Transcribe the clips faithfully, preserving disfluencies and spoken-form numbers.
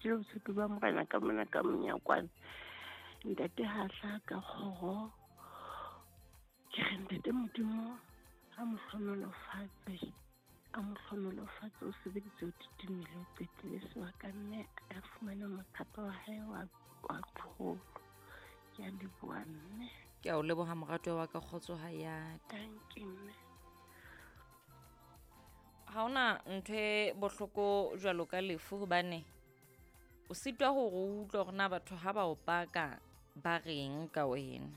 qetile botshepi ba morena ka mona ka monyakwane. Ntate ha hlaha ka kgoro. Ke re ntate Modimo a mo hlohonolofatse. A mo hlohonolofatse, o sebeditse o titimile, o qetile sebaka mme a fumane mothapo wa hae wa wa pholo. Ke a leboha mme. Ke a o leboha moratuwa wa ka, kgotso ha ya. Thank you mme. Ha hona ntho e bohloko jwalo ka lefu hobane o sitwa hore o utlwe hore na batho ha ba o paka ba reng ka wena.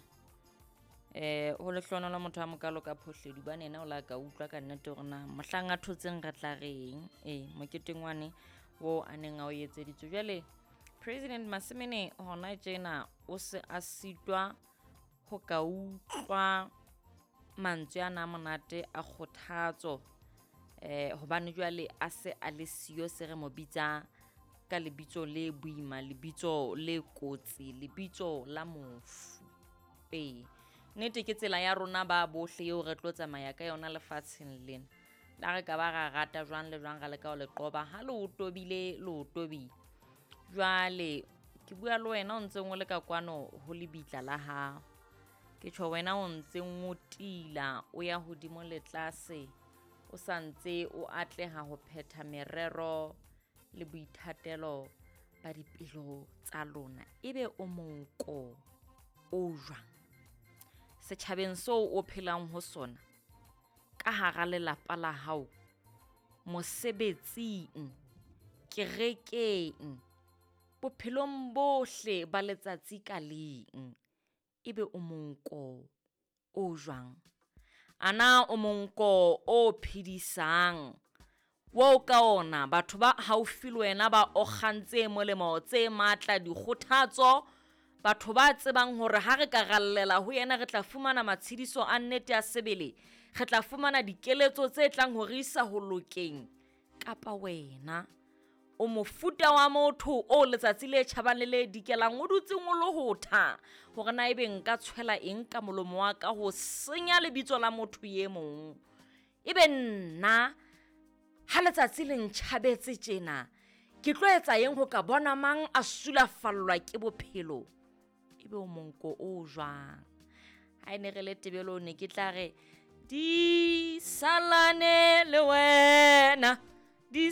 Eh ho lehlohonolo motho a mokalo ka phohledi hobane yena o la ka utlwa ka nnete hore na mohlang a thotseng re tla reng. Eh moketeng wane oo a neng a o etseditswe. Jwale President Masimene hona tjena o se a sitwa ho ka utlwa mantswe ana a monate a kgothatso. Eh hobane jwale a se a le siyo, se re mo bitsa ka lebitso le boima, lebitso le kotsi, lebitso la mofu. Ee, nnete ke tsela ya rona ba bohle eo re tlo tsamaya ka yona lefatsheng lena. La re ka ba ra rata jwang le jwang ra leka ho le qoba, ha le o tobile le o tobile. Jwale ke bua le wena o ntseng o le ka kwano ho lebitla la hao. Ke tjho wena o ntseng o tila o ya hodimo le tlase, o sa ntse o atleha ho phetha merero le boithatelo ba dipelo tsa lona. Ebe o monko o jwang setjhabeng seo o phelang ho sona, ka hara lelapa la hao, mosebetsing, kerekeng, bophelong bohle ba letsatsi ka leng, ebe o monko o jwang? Ana o monko o phedisang, wo ka ona batho ba haufi le wena ba okgang tse molemo, tse matla, dikgothatso, batho ba tsebang hore ha re ka rallela ho yena re tla fumana matshediso a nnete a sebele, re tla fumana dikeletso tse tlang ho re isa ho lokeng. Kapa wena o mofuta wa motho o letsatsi le tjhabang le le dikelang o dutseng o lohotha hore na ebe nka tshwela eng ka molomo wa ka ho senya lebitso la motho e mong. Ebe nna ha letsatsi le ntjhabetse tjena ke tlo etsa eng ho ka bona mang a sulafallwa ke bophelo? Ebe o monko o jwang? Ha e ne re le tebelo ne ke tla re di salane le wena, di